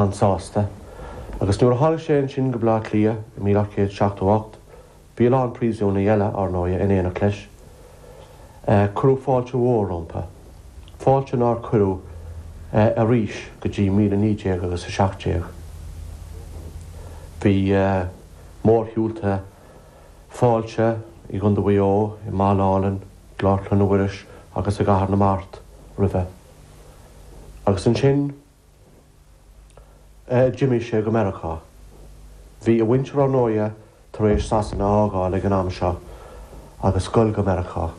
An-sásta. Agus nuair a tháinig sé ansin go Baile Átha Cliath i 1878, bhí a lán príosúnaigh eile, ár ndóighe, in éineacht leis. Cuireadh fáilte mhór rompu. Fáilte nár cuireadh arís go dtí 19 agus a 17. Bhí mórshiúlta fáilte i gContae Mhaigh Eo, i mBaile Álainn, i gClár Chlainne Mhuiris agus i gCathair na Mart roimhe. Agus ansin. D'imigh sé go Meiriceá. Bhí a mhuintir ár ndóighe tar éis Sasana a fhágáil ag an am seo agus goil go Meiriceá.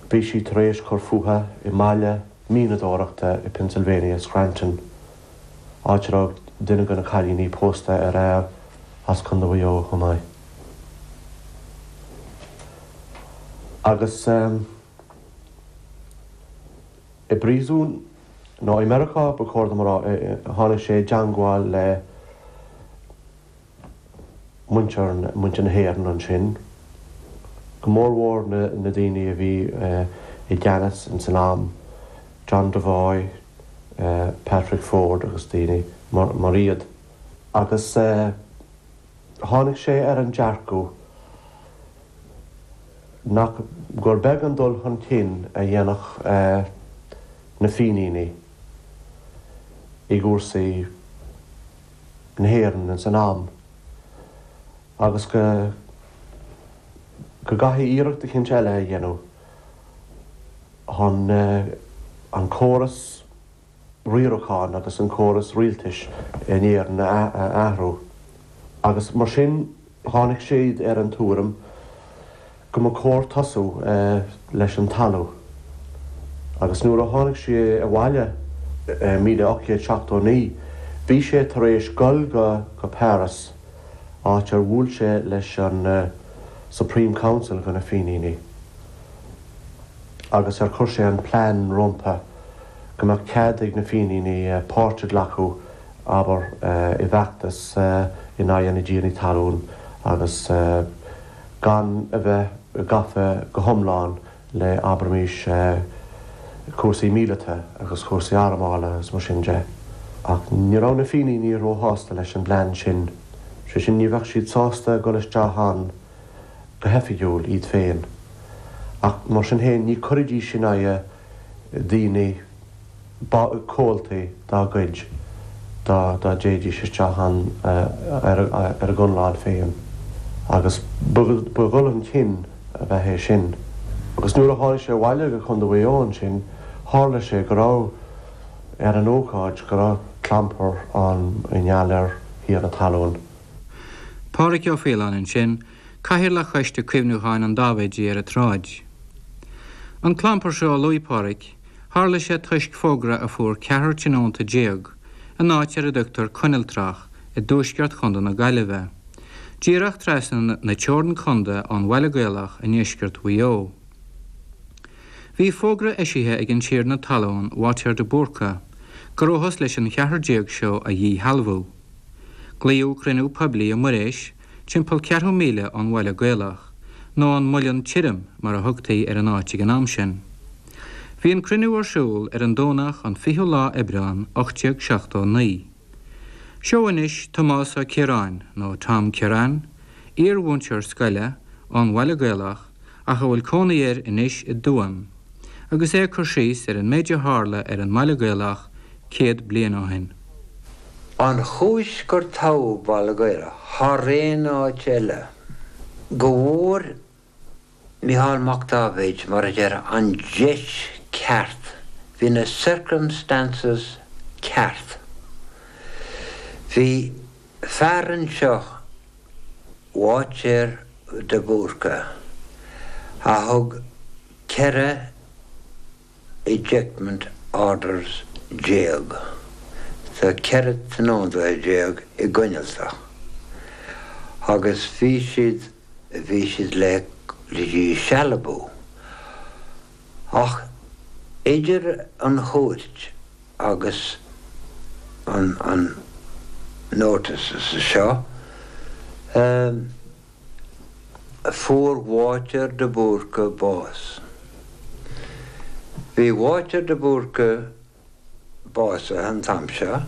Bhí siad tar éis cur fúthu i mbaile mianadóireachta i Pennsylvania, Scranton, áit a raibh duine de na cailíní pósta ar fhear as Contae Mhaigh Eo chomh maith. Agus. I bpríosún, nó i Meiriceá ba chóir dom a rá, tháinig sé i dteangmháil le muintir, muintir na hÉireann ansin, go mórmhór na daoine a bhí i gceannas ins an am, John Devoy, Patrick Ford agus daoine mar iad. Agus. Tháinig sé ar an dearcadh nach gur beag an dul chun cinn a dhéanfadh na Fíníní i gcúrsaí na hÉireann ins an am agus go go gcaithfí iarracht eicínt eile a dhéanamh chun an córas riaracháin agus an córas rialtais in Éirinn a athrú agus mar sin tháinig siad ar an tuairim go mba chóir tosú leis an talamh agus nuair a tháinig sé abhaile i 1879 bhí sé tar éis dul go Paris áit ar bhuail sé leis an Supreme Council de na Fíníní. agus ar chuir sé an plean rompu go mbeadh cead ag na Fíníní páirt a ghlacadh, abair, i bhfeachtas in aghaidh na dtiarnaí talún agus gan a bheith gafa go hiomlán le, abraimis, cúrsaí míleata agus cúrsaí armála agus mar sin de. Ach ní raibh na Fíníní róshásta leis an bplean sin, sé sin, ní bheadh siad sásta dul isteach ann go hoifigiúil iad féin, ach mar sin féin ní chuirfidís in aghaidh daoine, comhaltaí dá gcuid, dá dtéidís isteach ann ar a gconlán féin. Agus ba dhul chun cinn ab ea é sin. Agus nuair a tháinig sé abhaile go Contae Mhaigh Eo ansin, tharla sé go raibh, ar an ócáid, go raibh clampar ann i ngeall ar thiarna talún. Pádraig Ó Faoláin ansin, Cathaoirleach Choiste Cuimhniúcháin an Dáibhéidigh ar an tSráid. An clampar seo a luaigh Pádraig, tharla sé toisc fógra a fuair ceathrar tionónta in áit ar a dtugtar Coinniltrách i dtuaisceart Chontae na Gaillimhe, díreach trasna na teorann contae ón Bhaile Gaelach i ndeisceart Mhaigh Eo. Bhí fógra eisithe ag an tiarna talún Bháitéar de Búrca go rabhthas leis an cheathrar seo a dhíshealbhú. Glaodh cruinniú poiblí i Muiréis, timpeall ceathrú míle ón Bhaile Gaelach, nó an Muileann Tirim mar a thugtaí ar an áit ag an am sin. Bhí an cruinniú ar siúl ar an Domhnach an 20ú lá Aibreán 1879. Seo anois Tomás Ó Ciaráin, nó Tom Kirrane, iar-mhúinteoir scoile, ón Bhaile Gaelach, ach a bhfuil cónaí air anois i dTuaim, agus é ag cur síos ar an méid a tharla ar an mBaile Gaelach 100 bliain ó shin. An chúis gur toghadh Baile Gaelach thar aon áit eile, go bhfuair Micheál Mac Dáibhéid, mar a déarfá, an deis ceart, bhí na circumstances ceart. Bhí fear anseo, Bháitéar de Búrca, a thug 14 ejectment orders do 14 tionóntaithe i gCoinneltach agus bhí siad, bhí siad le díshealbhú. Ach idir an chúirt agus an, an notices seo, Fuair Bháitéar de Búrca bás. Bhí Bháitéar de Búrca básaithe an t-am seo.